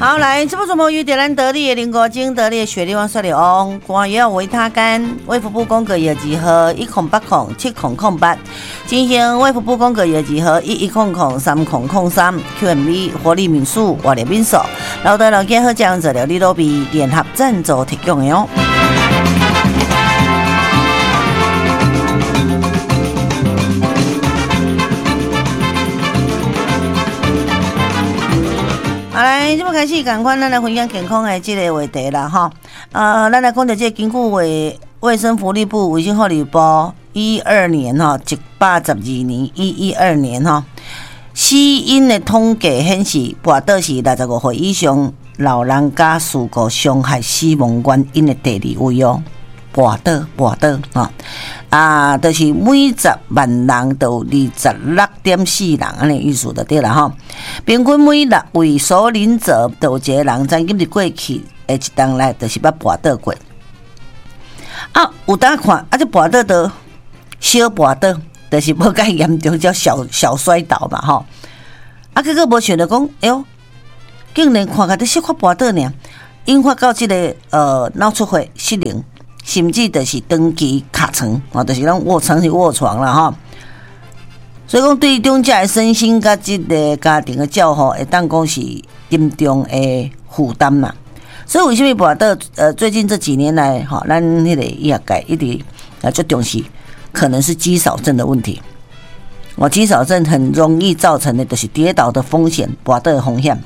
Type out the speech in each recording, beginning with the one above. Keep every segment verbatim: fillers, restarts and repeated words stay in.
好，來，這部節目由點咱得力的林國晶、得力的雪莉王、雪莉翁、官藥維他乾、衛福部廣告藥字號一空八空七空空八，進行衛福部廣告藥字號一一空空三空空三 Q M V 活力民宿活力民宿，老大老健好醬做料理都比聯合贊助提供的哦。好來，這擺開始仝款，咱來分享健康的這个話題啦，吼。呃，咱來講著這個根據衛衛生福利部衛生福利部一二年吼，一百十二年一一二年吼，死因的統計顯示，跋倒是六十五歲以上老人家事故傷害死亡原因的第二位哦。跋倒，跋倒，吼，啊，就是每十萬人就有二十六點四人，按呢意思就對啦吼。平均每六位首領者就有一個人，曾經佇過去的一冬內，就是捌跋倒過。啊，有當看，啊，這跋倒就小跋倒，就是無介嚴重，叫小小摔倒嘛吼。啊，結果無想著講，哎喲，竟然看起來小可跋倒爾，引發到這个呃腦出血失靈。甚至就是長期卡床，哦，就是攏臥床是臥床啦吼。所以講，對長者的身心佮這个家庭的照護，會當講是沉重的負擔啦。所以為啥物跋倒？呃，最近這幾年來，吼，咱彼个醫學界一直啊足重視，可能是肌少症的問題。哦，肌少症很容易造成的，就是跌倒的風險，跋倒的風險。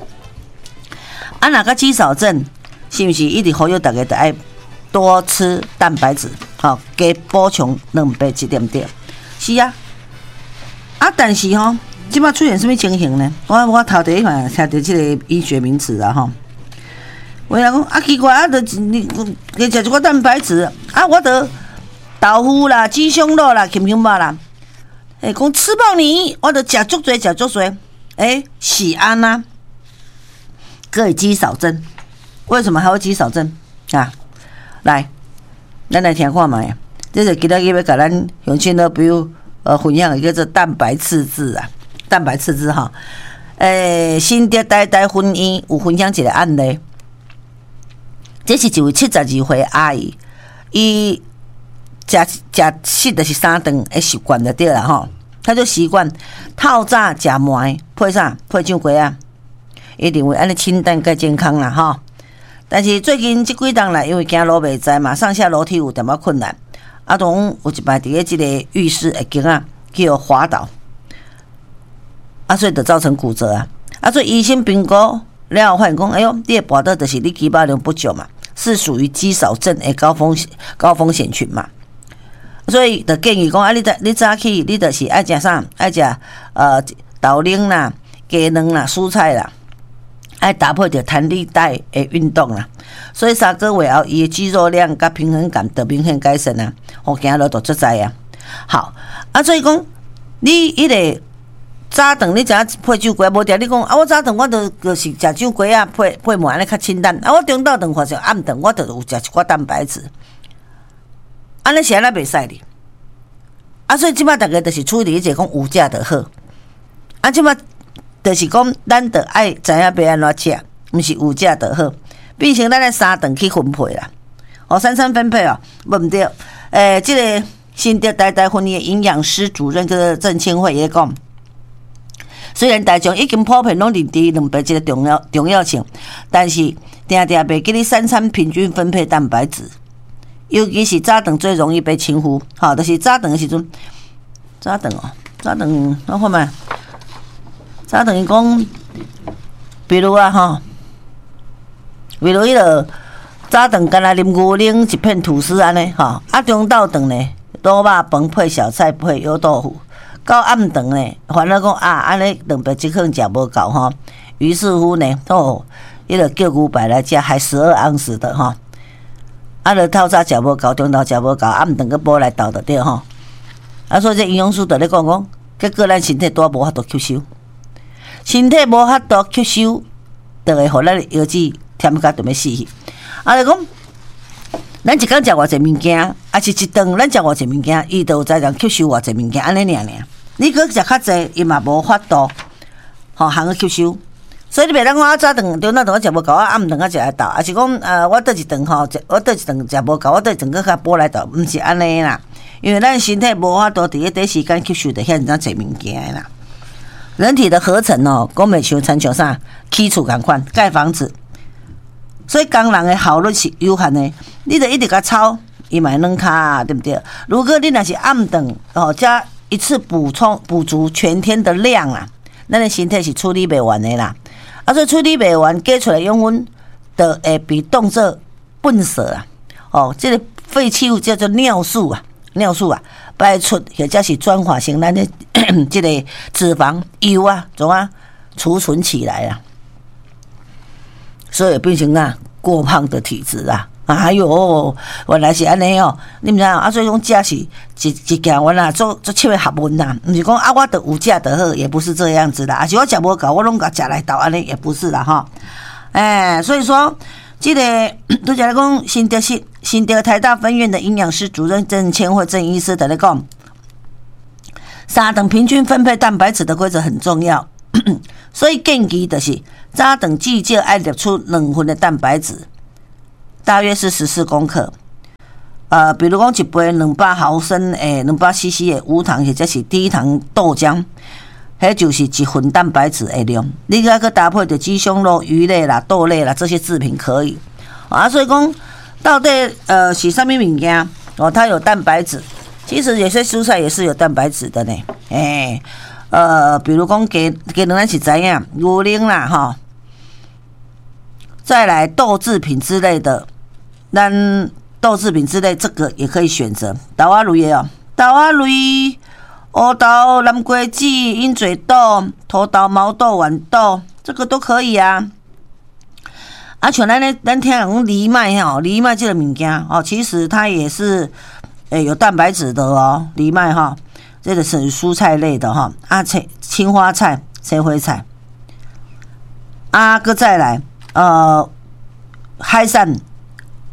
啊，若個肌少症，是毋是一直呼籲大家著愛多吃蛋白質，吼，加補充蛋白質，對毋對？是啊，啊，但是吼，這擺出現啥物情形呢？我我頭第一擺聽著這个醫學名詞啊，吼，有人講啊，奇怪啊，著你加食一寡蛋白質啊，我著豆腐啦、雞胸肉啦、禽胸肉啦，欸，講吃飽你，我著食足濟，食足濟，欸，是按怎？閣會肌少症，為什麼還會肌少症啊？來，咱來聽看覓，這是今仔日欲共咱鄉親老朋友呃分享的叫做蛋白赤字啊，蛋白赤字吼。欸，新竹台大分院有分享一个案例，這是一位七十二歲阿姨，伊食食食就是三頓的習慣就對啦吼，她就習慣透早食糜配啥配醬瓜仔，伊認為按呢清淡較健康啦吼。但是最近這幾冬來，因為行路袂知嘛，上下樓梯有淡薄困難。啊，當有一擺佇咧這个浴室的間仔去予滑倒，啊，所以就造成骨折啊。啊，所以醫生評估了後發現講，哎喲，你的跋倒就是你肌肉量不足嘛，是屬於肌少症的高風險高風險群嘛。所以就建議講，啊，你早你早起你就是愛食啥？愛食呃豆奶啦、雞卵啦、蔬菜啦。愛搭配著彈力帶的運動啦，所以三個月後，伊的肌肉量佮平衡感就明顯改善啊，予行路就足在啊。好，啊，所以講你彼个早頓你食配酒粿，無定你講啊，我早頓我就就是食酒粿仔配配糜按呢較清淡，啊，我中晝頓或者暗頓我就有食一寡蛋白質，按呢是按怎袂使哩？啊，所以這擺逐家就是處理一個講有食就好，啊，這擺。就是講，咱著愛知影欲按怎食，毋是有食就好。變成咱愛三頓去分配啦，哦，三餐分配哦，無毋對。欸，這个新竹台大分院營養師主任叫做鄭清慧伊講，雖然大眾已經普遍攏認知蛋白質的重要重要性，但是定定袂記得三餐平均分配蛋白質，尤其是早頓最容易被輕忽。吼，就是早頓的時陣，早頓哦，早頓我看覓。早頓伊講，比如啊吼，比如彼个早頓干焦啉牛奶一片吐司按呢吼，啊中晝頓呢，滷肉飯配小菜配油豆腐，到暗頓呢，煩惱講啊，按呢蛋白質可能食無夠吼，於是乎呢，哦，彼个叫牛排來食，還十二盎司的吼，啊，著透早食無夠，中晝食無夠，暗頓閣補來鬥就對吼，啊，所以這營養師就咧講講，結果咱身體拄無法度吸收。身體無法度吸收，就會予咱的腰子忝甲著欲死去。啊，就講，咱一工食偌濟物件，抑是一頓咱食偌濟物件，伊就有才能吸收偌濟物件，按呢爾爾。你閣食較濟，伊嘛無法度，吼，通去吸收。所以你袂當講啊，早頓中晝頓我食無夠，我暗頓仔食來鬥，抑是講呃，我倒一頓吼，食我倒一頓食無夠，我倒一頓閣較補來鬥，毋是按呢啦。因為咱身體無法度佇咧短時間吸收著遐爾濟物件啦。人體的合成哦，講袂像親像啥起厝仝款蓋房子，所以工人的效率是有限的。你著一直共操，伊嘛會軟跤，對毋對？如果你若是暗頓哦，才一次補充補足全天的量啊，咱的身體是處理袂完的啦。啊，所以處理袂完，加出來養分就會被當做糞掃啦。哦，這個廢棄物叫做尿素啊，尿素啊，排出或者是轉化成咱的這個脂肪油啊，怎啊儲存起來啊，所以變成啊過胖的體質啊。哎喲，原來是按呢哦，你毋知影啊？所以講食是一一件原來做做深的學問啦，毋是講啊，我著有食就好，也不是這樣子啦。抑是我食無夠，我攏共食來鬥按呢，也不是啦吼。欸，所以說這個拄才咧講新竹市新竹台大分院的營養師主任鄭千惠鄭醫師佇咧講，三頓平均分配蛋白質的規則很重要，所以建議就是早頓至少愛攝取兩份的蛋白質。大約是十四公克，呃，比如講一杯兩百毫升的兩百 C C 的無糖或者是低糖豆漿，彼就是一份蛋白質的量。你閣閣搭配著雞胸肉、魚類啦、豆類啦這些製品可以。啊，所以講到底呃是啥物物件哦？它有蛋白質，其實有些蔬菜也是有蛋白質的呢。欸，呃，比如講雞雞卵咱是知影，牛奶啦吼，再來豆製品之類的。咱豆製品之類，這個也可以選擇。豆仔類的哦，豆仔類、烏豆、南瓜子、鷹嘴豆、頭豆、毛豆、豌豆，這個都可以啊。啊，像咱咧，咱聽人講藜麥吼，藜麥這個物件哦，其實它也是欸有蛋白質的哦，藜麥哈，這個是蔬菜類的哈。啊，青青花菜、青花菜。啊，閣再來，呃，海產。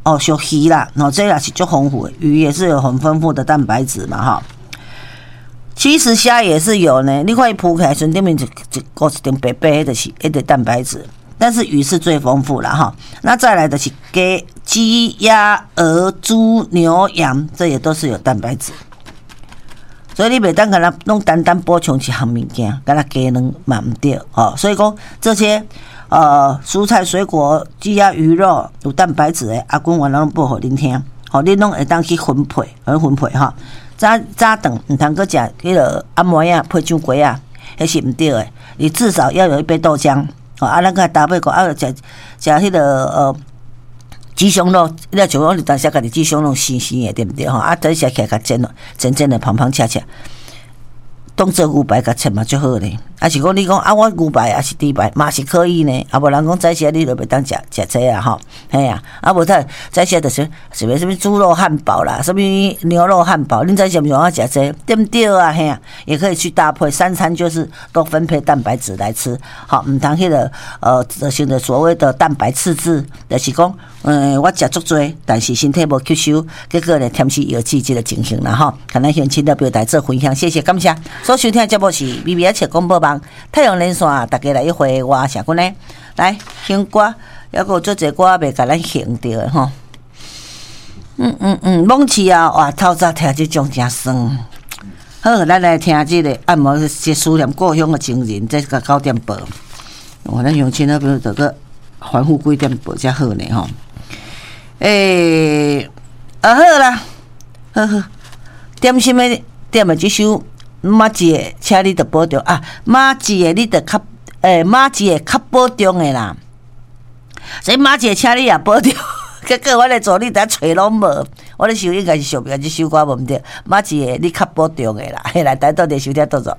哦，像魚啦，哦，這也是足豐富的，魚也是有很豐富的蛋白質嘛，哈。其實蝦也是有呢，你看伊浮起來時陣，頂面一一個一層白白的，就是彼個蛋白質。但是魚是最豐富了哈。那再來的是雞、雞、鴨、鵝、豬、牛、羊，這也都是有蛋白質。所以你袂當干焦攏單單補充一項物件，干焦雞卵嘛毋對，吼。所以講這些。呃，蔬菜、水果、雞鴨魚肉有蛋白質的，阿君原來攏報予恁聽，吼，恁攏會當去分配，去分配吼。早早頓毋通閣食彼个暗暝仔配上粿仔，彼是毋對的。你至少要有一杯豆漿，吼，啊，咱閣搭配個啊，食食彼个呃雞胸肉，你若像講你當時家己雞胸肉生生的，對毋對吼？啊，等食起來較煎咯，煎煎的芳芳恰恰。當做牛排共切嘛足好咧，抑是講你講啊，我牛排抑是豬排嘛是可以呢。啊無人講早時你就袂當食食這啊吼，嘿啊，啊無他早時就是啥物啥物豬肉漢堡啦，啥物牛肉漢堡，恁早時毋是愛食這個，對毋對啊？嘿啊，也可以去搭配，三餐就是都分配蛋白質來吃，好，毋通彼個呃，造成所謂的蛋白赤字，就是講，嗯，我食足濟，但是身體無吸收，結果呢，添食藥劑這個情形啦吼。共咱鄉親了表達做分享，謝謝，感謝。所收聽的節目是微微仔笑廣播網太陽連線，大家來一回我謝君呢，來聽歌，猶閣有足濟歌未共咱哼著的吼。嗯嗯嗯，罔市啊，哇，透早聽這種誠爽。好，咱來聽這個按摩是思念故鄉的情人，這個九點播。哦，咱鄉親那邊就閣反覆幾點播才好呢吼。欸，啊好啦，好好，點心的點的這首。媽一个，請你著保重啊！媽一个，你著較欸，媽一個較保重的啦。所以媽一個，請你也保重。結果我的助理佇遐揣攏無，我咧想應該是想袂這首歌無毋對。媽一個，你較保重的啦。來，台東的收聽多謝。